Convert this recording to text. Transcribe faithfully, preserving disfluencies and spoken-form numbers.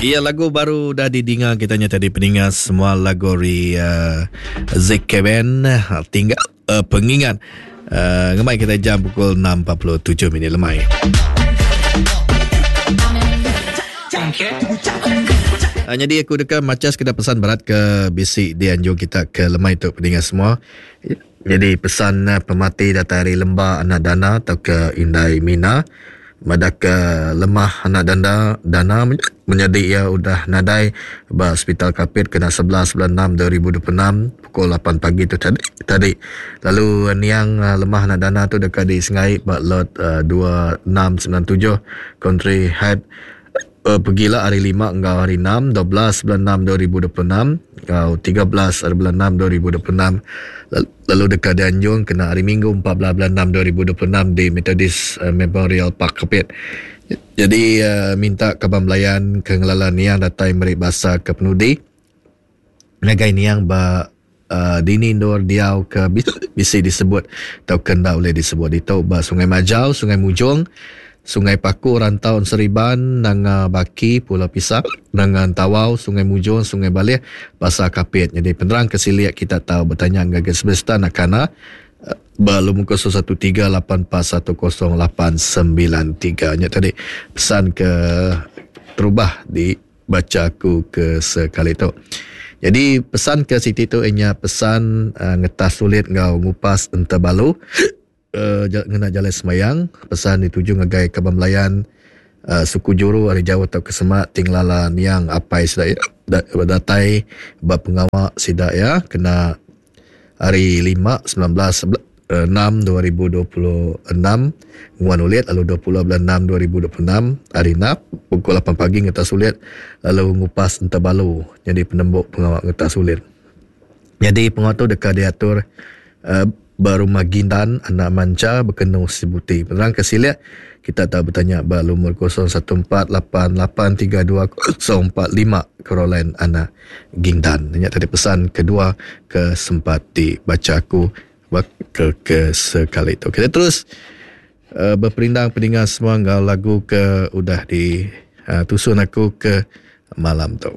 Iya lagu baru dah didinga kita nya tadi peninga semua lagu ri uh, Z K Band tinggal uh, pengingat uh, ngemai kita jam pukul enam empat puluh tujuh minit lemai. Uh, jadi aku deka maca sekedar pesan berat ke bisi dianjung kita ke lemai tu peninga semua. Jadi pesan uh, pemati datang dari Lemba Anak Dana atau ke Indai Mina. Madak ke lemah anak dana dana menjadi ia udah nadai ba hospital Kapit kena sebelas bulan enam dua ribu dua puluh enam pukul lapan pagi tu tadi, tadi. Lalu niang lemah anak dana tu dekat di Sengai ba lot uh, dua enam sembilan tujuh Country Head uh, pergilah hari lima enggau hari enam dua belas bulan enam dua ribu dua puluh enam enggau tiga belas bulan enam dua ribu dua puluh enam. Lalu dekat dianjung kena hari Minggu empat belas bulan enam dua ribu dua puluh enam di Methodist uh, Memorial Park Kapit. Jadi uh, minta kaban belayan ke ngelala niang datai meri basa ke penudi ngagai niang ba uh, dini ndor diau ke bisi disebut atau kena boleh disebut itu ba Sungai Majau, Sungai Mujong, Sungai Paku, Rantau Seriban, Nanga Baki, Pulau Pisang, Nanga Tawau, Sungai Mujong, Sungai Balih, Pasar Kapit. Jadi penerang kesiliak kita tahu bertanya ngagai semesta nakana belum kosong satu tiga lapan empat satu kosong lapan sembilan tiga. Nya tadi pesan ke terubah dibaca aku ke sekali tu. Jadi pesan ke Siti tu ianya pesan uh, ngetas sulit ngau ngupas entebalu. Uh, ngena jalan semayang pesan dituju ngagai kaban belayan uh, suku juru ari jauh atau ke semak tinglala niang apai sida datai ba pengawa sida ya kena hari lima sembilan belas enam dua ribu dua puluh enam nguan ulit lalu dua puluh bulan enam dua ribu dua puluh enam hari enam pukul lapan pagi ngetas ulit lalu ngupas entebalu jadi penembuk pengawa ngetas ulit. Jadi pengawa tu dekat diatur uh, berumah Gindan anak manca berkenu Sibuti. Penerang ke siliak kita tak bertanya ba lumur kosong satu empat lapan lapan tiga dua kosong empat lima Caroline anak Gindan. Ingat tadi pesan kedua ke sempat dibaca aku ke, ke sekali tu. Kita terus uh, berperindang pendengar semua ngau lagu ke udah di uh, tusun aku ke malam tu.